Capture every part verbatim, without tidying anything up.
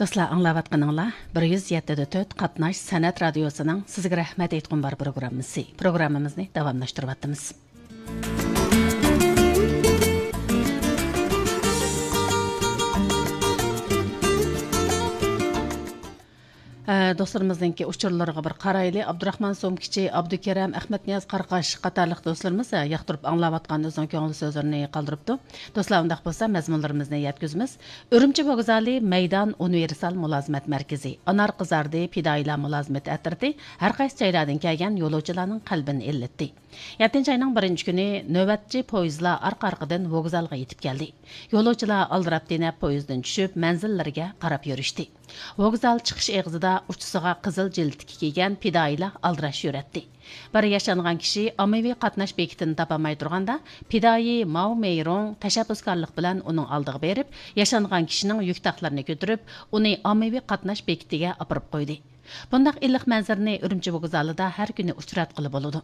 دوستلار، ئاڭلاۋاتقىنىڭلار بىر يۈز يەتتە دە تۆت قاتناش سەنئەت رادىيوسىنىڭ سىزگە رەھمەت ئېيتقۇم بار پروگراممىسى. پروگراممىمىزنى داۋاملاشتۇرۇۋاتىمىز. ئە، دوستلىرىمىزنىڭكى ئۇچۇرلىرىغا بىر قارايلى. ئابدۇراخمان سومكىچى، ئابدۇكېرەم، ئەخمەتنىياز قاراقاش قاتارلىق دوستلىرىمىز، ئە، ياقتۇرۇپ ئاڭلاۋاتقان ئۆزىنىڭ كۆڭۈل سۆزلىرىنى قالدۇرۇپتۇ. دوستلار، ئۇنداق بولسا مەزمۇنلىرىمىزنى يەتكۈزىمىز. ئۈرۈمچى ۋوگزالى مەيدان ئۇنىۋېرسال مۇلازىمەت مەركىزى، ئانار قىزاردى پىدائىيلار مۇلازىمىتى ئەترىتى ھەر قايسى جايلاردىن كەلگەن يولۇچىلارنىڭ قەلبىنى ئىللىتتى. يەتتىنچى ئاينىڭ بىرىنچى كۈنى نۆۋەتچى پويىزلار ئارقا-ئارقىدىن ۋوگزالغا يېتىپ كەلدى. يولۇچىلار ئالدىراپ-تېنەپ پويىزدىن چۈشۈپ، مەنزىللىرىگە قاراپ يۈرۈشتى. ۋوگزال چىقىش ئېغىزىدا ئۇچىسىغا قىزىل جىلىتىكى كىيگەن پىدائىيلار ئالدىراش يۈرەتتى. بىر ياشانغان كىشى ئاممىۋى قاتناش بېكىتىنى تاپالماي تۇرغاندا، پىدائىي ماۋ مېيرۇڭ تەشەببۇسكارلىق بىلەن ئۇنىڭ ئالدىغا بېرىپ، ياشانغان كىشىنىڭ يۈك تاقلىرىنى كۆتۈرۈپ، ئۇنى ئاممىۋى قاتناش بېكىتىگە ئاپىرىپ قويدى. بۇنداق ئىللىق مەنزىرىنى ئۈرۈمچى ۋوگزالىدا ھەر كۈنى ئۇچراتقىلى بولىدۇ.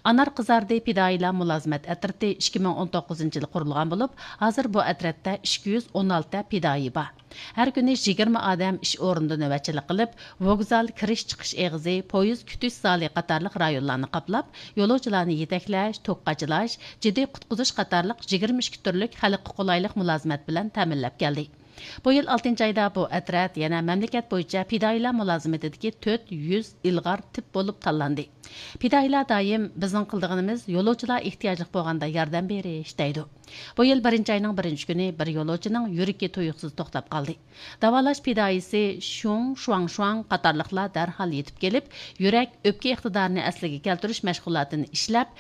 ئانار قىزاردى پىدائىيلار مۇلازىمەت ئەترىتى ئىككى مىڭ ئون توققۇزىنچى يىلى قۇرۇلغان بولۇپ، ھازىر بۇ ئەترەتتە ئىككى يۈز ئون ئالتە پىدائىي بار. ھەر كۈنى يىگىرمە ئادەم ئىش ئورنىدا نۆۋەتچىلىك قىلىپ، ۋوگزال كىرىش-چىقىش ئېغىزى، پويىز كۈتۈش زالى قاتارلىق رايونلارنى قاپلاپ، يولۇچىلارنى يېتەكلەش، توك قاچىلاش، جىددىي قۇتقۇزۇش قاتارلىق يىگىرمە ئىككى تۈرلۈك خەلققە قولايلىق مۇلازىمەت بىلەن تەمىنلەپ كەلدى. بۇ يىل ئالتىنچى ئايدا بۇ ئەترەت يەنە مەملىكەت بويىچە پىدائىيلار مۇلازىمىتىدىكى تۆت يۈز ئىلغار تىپ بولۇپ تاللاندى. پىدائىيلار دائىم، «بىزنىڭ قىلىدىغىنىمىز يولۇچىلار ئېھتىياجلىق بولغاندا ياردەم بېرىش» دەيدۇ. بۇ يىل بىرىنچى ئاينىڭ بىرىنچى كۈنى بىر يولۇچىنىڭ يۈرىكى تۇيۇقسىز توختاپ قالدى. داۋالاش پىدائىيسى شۇڭ شۇاڭشۇاڭ قاتارلىقلار دەرھال يېتىپ كېلىپ، يۈرەك، ئۆپكە ئىقتىدارىنى ئەسلىگە كەلتۈرۈش مەشغۇلاتىنى ئىشلەپ،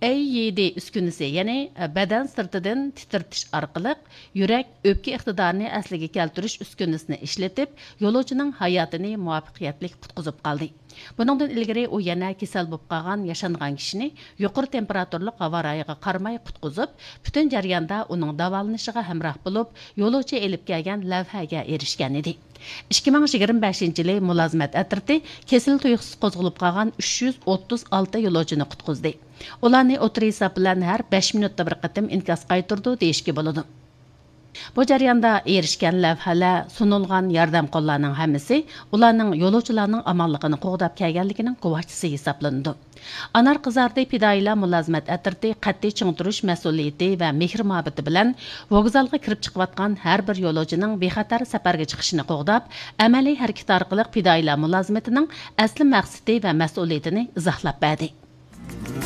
ئەي يى دى ئۈسكۈنىسى، يەنى بەدەن سىرتىدىن تىترىتىش ئارقىلىق يۈرەك، ئۆپكە ئىقتىدارىنى ئەسلىگە كەلتۈرۈش ئۈسكۈنىسىنى ئىشلىتىپ، يولۇچىنىڭ ھاياتىنى مۇۋەپپەقىيەتلىك قۇتقۇزۇپ قالدى. بۇنىڭدىن ئىلگىرى ئۇ يەنە كېسەل بولۇپ قالغان ياشانغان كىشىنى يۇقىرى تېمپېراتۇرىلىق ھاۋا رايىغا قارىماي قۇتقۇزۇپ، پۈتۈن جەرياندا ئۇنىڭ داۋالىنىشىغا ھەمراھ بولۇپ، يولۇچى ئېلىپ كەلگەن لەۋھەگە ئېرىشكەن ئىدى. ئىككى مىڭ يىگىرمە بەشىنچى يىلى مۇلازىمەت ئەترىتى كېسىلى تۇيۇقسىز قوزغىلىپ قالغان ئۈچ يۈز ئوتتۇز ئالتە يولۇچىنى قۇتقۇزدى. ئۇلارنى ئوتتۇرا ھېساب بىلەن ھەر بەش مىنۇتتا بىر قېتىم ئىنكاس قايتۇرىدۇ دېيىشكە بولىدۇ. بۇ جەرياندا ئېرىشكەن لەۋھەلەر، سۇنۇلغان ياردەم قوللارنىڭ ھەممىسى ئۇلارنىڭ يولۇچىلارنىڭ ئامانلىقىنى قوغداپ كەلگەنلىكىنىڭ گۇۋاھچىسى ھېسابلىنىدۇ. ئانار قىزاردى پىدائىيلار مۇلازىمەت ئەترىتى قەتئىي چىڭ تۇرۇش مەسئۇلىيىتى ۋە مېھىر مۇھەببىتى بىلەن ۋوگزالغا كىرىپ چىقىۋاتقان ھەر بىر يولۇچىنىڭ بىخەتەر سەپەرگە چىقىشىنى قوغداپ، ئەمەلىي ھەرىكىتى ئارقىلىق پىدائىيلار مۇلازىمىتىنىڭ ئەسلى مەقسىتى ۋە مەسئۇلىيىتىنى ئىزاھلاپ بەردى.